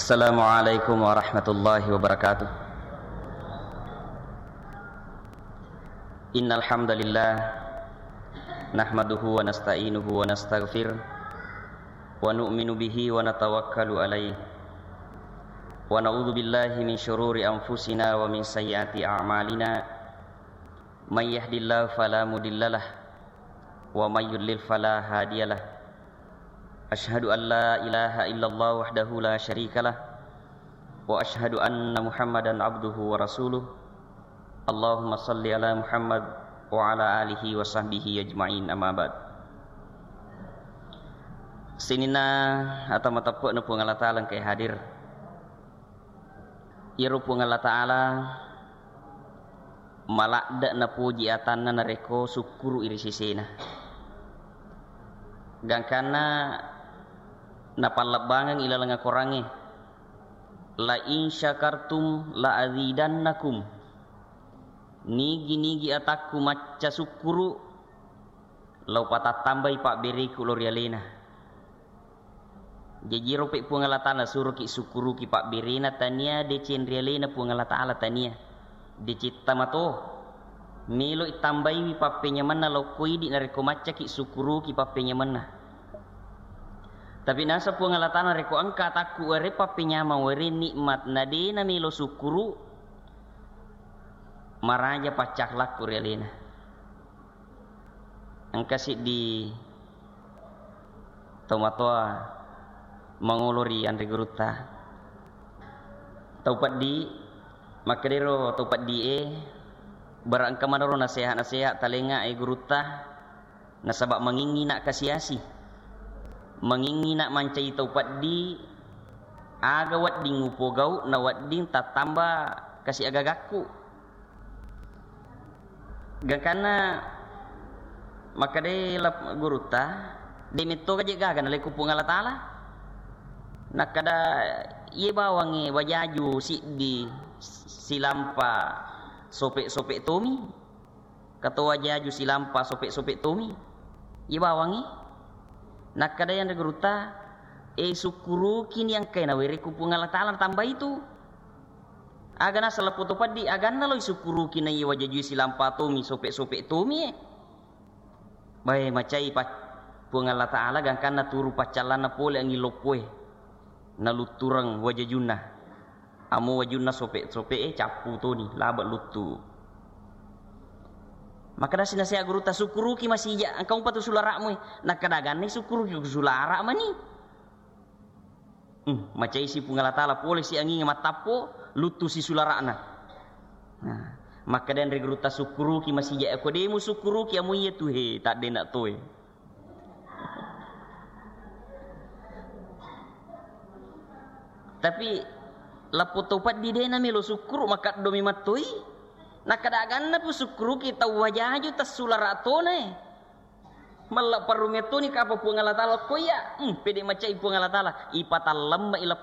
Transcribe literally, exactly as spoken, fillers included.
Assalamualaikum warahmatullahi wabarakatuh. Innal hamdalillah, nahmaduhu wa nasta'inuhu wa nastaghfir, wa nu'minu bihi wa natawakkalu alaih, wa na'udzu billahi min syururi anfusina wa min sayyiati a'malina. May yahdillahu fala mudhillalah, wa may yudlil fala hadiyalah. Asyhadu an la ilaha illallah wahdahu la syarikalah, wa asyhadu anna Muhammadan abduhu wa rasuluh. Allahumma salli ala Muhammad wa ala alihi wa sahbihi ajma'in, amma ba'd. Sininna ata mateppe'na Puang Allah Ta'ala engkae hadir. Iyaro Puang Allah Ta'ala maladde' napoji atanna narekko sukkuru'i ri sesena. Gangkanna napallebbangeng ilaleng akorangnge, "La in syakartum la azidannakum." Nigi-nigi atakku macca sukkuru', lao patattambai pabbereku lao ri alena. Jaji ro pe Puang Allah Ta'ala suroki sukkuruki pabberena tania deceng ri alena Puang Allah Ta'ala tania. Deceng tamato. Melo tambaiwi pappenyamenna lokko idi narekko maccaki sukkuruki pappenyamenna. Tapi nasa Puang Allah Ta'ala rekko engka atakku were pappenyamang were nikmat na de namelo sukkuru, maraja paccakhlakku ri alena. Engka siddi tomatoa mangolo ri anre gurutta. Tau peddi, makkedero tau peddi e, bara engka manero nasehat-nasehat talenga e gurutta, nasaba mangingi na kasiasi. Mangingi na mancai tau peddi, aga wedding upogau na wedding tattamba kasi agagakku. Gangkanna makkedai lap-, gurutta, de metto gaje gaga nalekko Puang Allah Ta'ala. Nakkeda, iye bawangnge wajaju siddi silampa sope-sope tomi. Kato wajaju silampa sope-sope tomi. Iye bawangnge. Nakkeda yanre gurutta, e sukkurukini engkae nawerekku Puang Allah Ta'ala natambai tu. Aga naseng lappo to peddi, aganna lo isukkuruki naiya wajajui silampa tomi, sope-sope tomi e. Bae, macai pa-, Puang Allah Ta'ala gangkanna turu paccallanna pole anging loppoe. Naluttureng wajajunna. Amo wajunna sope-sope e, cappu toni, laba luttu. Makkeda si nasehat gurutta, sukkuruki masija, engka umpa tu sulara'mu e. Nakkeda aganna sukkuruki ku sulara' mani. Hmm, macaisi Puang Allah Ta'ala, polesi anginge mattappo, luttusi sulara'na. Nah, makkeda anre gurutta, sukkuruki masija, ko de musukkuruki amo iya tu he, taddena toe. Tapi lappo to peddi de namelo sukkuru, makaddomi mattoi. Nakkeda aganna pu sukkuruki tau wajaju tassulara' tona e. Malla parrungettoni kapa Puang Allah Ta'ala ko iya, hmm, pede macai Puang Allah Ta'ala, ipatallemme ila